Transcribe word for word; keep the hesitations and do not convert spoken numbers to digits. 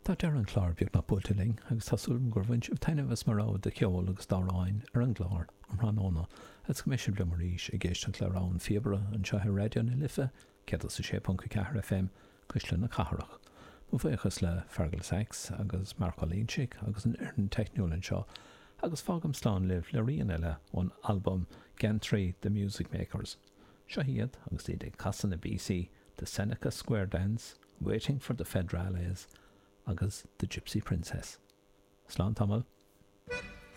Tá deireadh an chláir beagnach buailte linn agus tá súil agam gur bhain sibh taitneamh as mo rogha de cheol agus d'amhráin ar an gclár um thráthnóna agus go mbeidh sibh liom arís ag éisteacht le rogha an phíobaire anseo ar Raidió na Life céad is a sé ponc a ceathair FM Cuisle na Cathrach. Mo bhuíochas le Fergal Sachs agus Mark Ó Loingsigh agus an fhoireann teicniúil anseo agus fágaim slán libh le rian eile ón albam Geantraí The Music Makers. Seo iad agus iad ag casadh na bpíosaí The Seneca Square Dance, Waiting for the Federales agus The Gypsy Princess. Slán tamall.